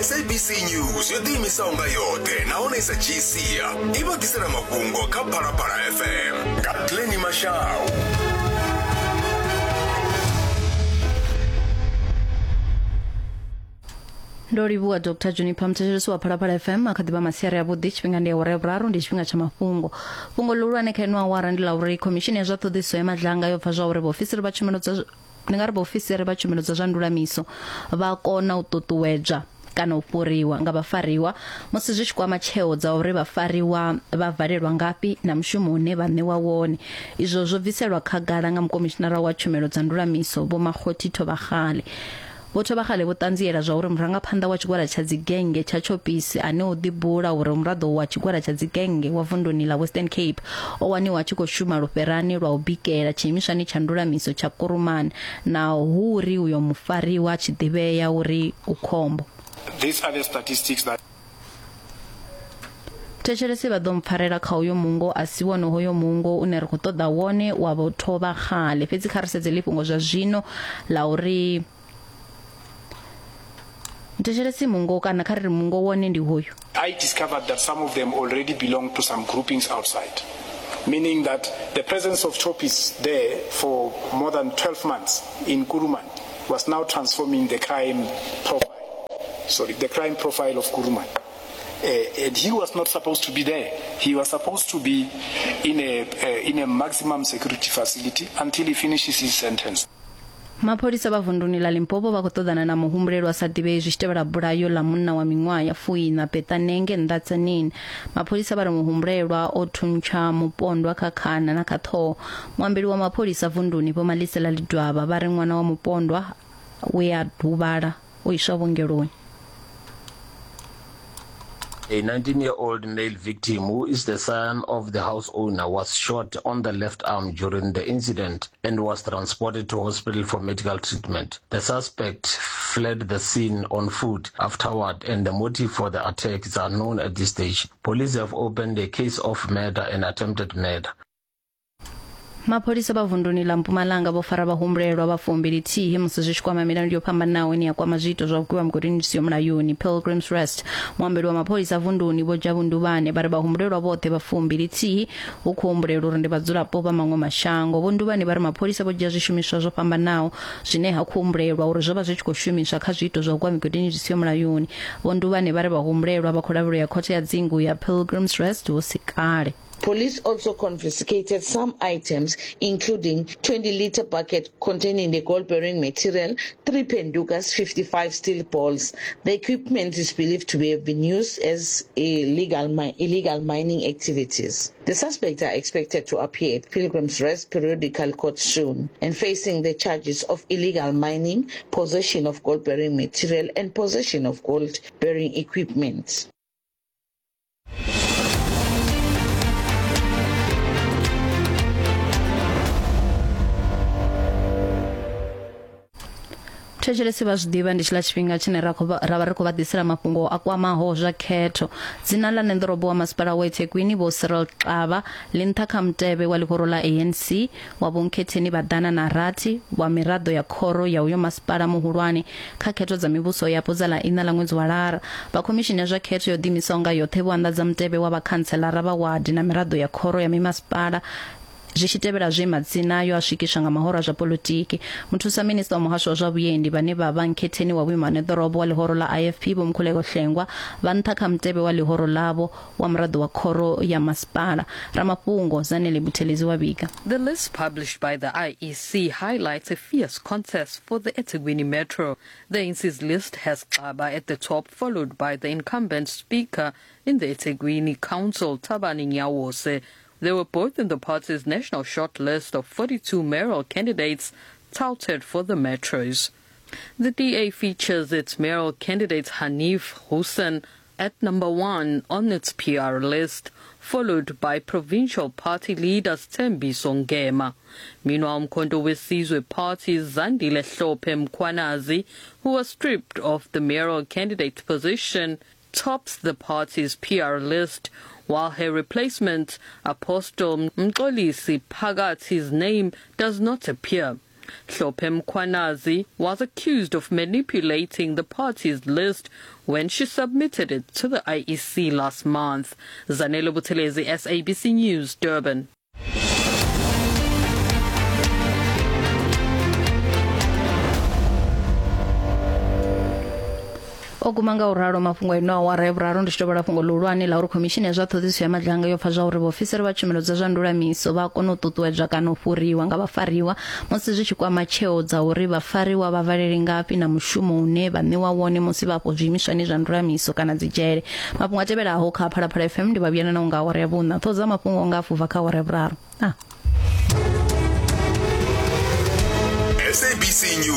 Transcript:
SABC News yo ḓiimisaho nga yoṱhe nahone i sa dzhii sia i vha ḓisela mafhungo kha Phalaphala FM nga Glenny Mashau. Ndo livhuwa Dr Juniper muthetshelesi wa Phalaphala FM a kha ḓivha masiari avhuḓi tshifhinga ndi awara ya vhuraru ndi tshifhinga tsha mafhungo fhungo ḽihulwane kha ino awara ndi ḽa uri khomishini ya zwa ṱhoḓisiso ya madlanga yo pfa zwa uri vhaofisiri vha tshumelo dza ndi nga ri vhaofisiri vha tshumelo dza zwa ndulamiso vha kona u ṱuṱuwedzwa kana u fhuriwa nga vhafariwa musi zwi tshi kwama tsheo dza uri vhafariwa vha valelwa ngafhi na mushumo une vha ṋewa wone. Izwo zwo bviselwa khagala nga mukomishinara wa tshumelo dza ndulamiso Vho Makgothi Thobakgale. Vho Thobakgale vho ṱanziela zwauri murangaphanḓa wa tshigwada tsha dzigennge tsha Choppies ane o ḓibula uri u muraḓo wa tshigwada tsha dzigennge wa vunduni ḽa Western Cape o waniwa a tshi khou shuma lufherani lwa u bikela tshiimiswani tsha ndulamiso tsha Kuruman naho hu uri uyo mufariwa a tshi ḓivhea uri u khombo. These are the statistics that. Thetshelesi vha ḓo mpfarela kha uyo mungo a si wone hoyo mungo une ri khou ṱoḓa wone wa vho Thovhakgale fhedzi kha ri sedze ḽi fhungo zwa zwino ḽa uri thetshelesi mungo kana kha ri ri mungo wone ndi hoyu. I discovered that some of them already belong to some groupings outside, meaning that the presence of Choppies there for more than 12 months in Kuruman was now transforming the crime profile, sorry, the crime profile of Kuruman. And he was not supposed to be there. He was supposed to be in a, in a maximum security facility until he finishes his sentence. Mapholisa vha vunduni ḽa Limpopo vha khou ṱoḓana na muhumbulelwa a sa ḓivhei zwi tshi tevhela bulayo ḽa munna wa miṅwaha ya fuiṋa Peṱanenge nnḓa Tzaneen. Mapholisa vha ri muhumbulelwa o thuntsha mupondwa kha khana na kha ṱhoho. Muambeli wa mapholisa vunduni Vho Malisela Ledwaba vha ri ṅwana wa mupondwa we a huvhala o iswa vhuongeloni. A 19-year-old male victim who is the son of the house owner was shot on the left arm during the incident and was transported to hospital for medical treatment. The suspect fled the scene on foot afterward and the motive for the attack is unknown at this stage. Police have opened a case of murder and attempted murder. Mapholisa vha vunduni ḽa Mpumalanga vho fara vhahumbulelwa vha fumbili thihi musi zwi tshi kwama milandu yo fhambanaho ine ya kwama zwiito zwa u gwiwa mugodini zwi siho mulayoni Pilgrims Rest. Muambeli wa mapholisa vunduni Vho Jabu Nduvhane vha ri vhahumbulelwa vhoṱhe vha fumbili thihi hu khou humbulelwa uri ndi vhadzulapo vha maṅwe mashango. Vho Nduvhane vha ri mapholisa vho dzhia zwishumiswa zwo fhambanaho zwine ha khou humbulelwa uri zwo vha zwi tshi khou shumiswa kha zwiito zwa u gwa migodini zwi siho mulayoni. Vho Nduvhane vha ri vhahumbulelwa vha khou lavhelelwa ya khothe ya dzingu ya Pilgrims Rest hu si kale. Police also confiscated some items, including 20-liter bucket containing the gold-bearing material, three pendukas, 55 steel balls. The equipment is believed to have been used as illegal, mi illegal mining activities. The suspects are expected to appear at Pilgrim's Rest Periodical Court soon and facing the charges of illegal mining, possession of gold-bearing material and possession of gold-bearing equipment. Thetshelesi vha zwi ḓivha ndi tshiḽa tshifhinga tshine ra khou ra vha ri khou vha ḓisela mafhungo a kwamaho zwa khetho. Dzina ḽa ṋeḓorobo wa masipala wa eThekwini Vho Cyril Xaba ḽi nṱha kha mutevhe wa ḽihoro ḽa ANC wa vhonkhetheni vha ḓana na rathi wa miraḓo ya khoro ya uyo masipala muhulwane kha khetho dza mivhuso yapo dza ḽa iṋa ḽa ṅwedzi wa Lara. Vha khomishini ya zwa khetho yo ḓiimisaho nga yoṱhe vho anḓadza mutevhe wa vhakhantselara vha wadi na miraḓo ya khoro ya mimasipala zwi tshi tevhela zwe madzina ayo a swikiswa nga mahoro a zwa polotiki. Muthusa minista wa muhasho wa zwa vhuendi vhane vha vha nkhetheni wa vhuimo ha ṋeḓorobo wa ḽihoro ḽa IFP Vho Mkhuleko Hlengwa vha nṱha kha mutevhe wa ḽihoro ḽavho wa muraḓo wa khoro ya masipala. Ramafhungo Zanele Buthelezi wa vhiga. The list published by the IEC highlights a fierce contest for the eThekwini Metro. The ANC's list has Xaba at the top, followed by the incumbent speaker in the eThekwini Council, Thabani Nyawose. They were both in the party's national shortlist of 42 mayoral candidates touted for the metros. The DA features its mayoral candidate Hanif Hussein at number one on its PR list, followed by provincial party leader Sthembiso Ngema. Meanwhile, Mkhonto weSizwe Party's Zandile Hlophe Mkhwanazi, who was stripped of the mayoral candidate position, tops the party's PR list, while her replacement, Apostle Mxolisi Phakathi's name does not appear. Hlophe Mkhwanazi was accused of manipulating the party's list when she submitted it to the IEC last month. Zanele Buthelezi, SABC News, Durban. O guma nga u ralo mafhungo ino awara ya vhuraru ndi tshi tovhola fhungo ḽihulwane ḽa uri khomishini ya zwa ṱhoḓisiso ya madlanga yo pfa zwa uri vhaofisiri vha tshumelo dza zwa ndulamiso vha kona u ṱuṱuwedzwa kana u fhuriwa nga vhafariwa musi zwi tshi kwama tsheo dza uri vhafariwa vha valele ngafhi na mushumo une vha ṋewa wone musi vha afho zwiimiswani zwa ndulamiso kana dzi dzhele. Mafhungo a tevhelaho kha Phalaphala FM ndi vha vhuyana nao nga awara ya vhuṋa. Ṱhoho dza mafhungo nga afho bva kha awara ya vhuraru. Ah. SABC News.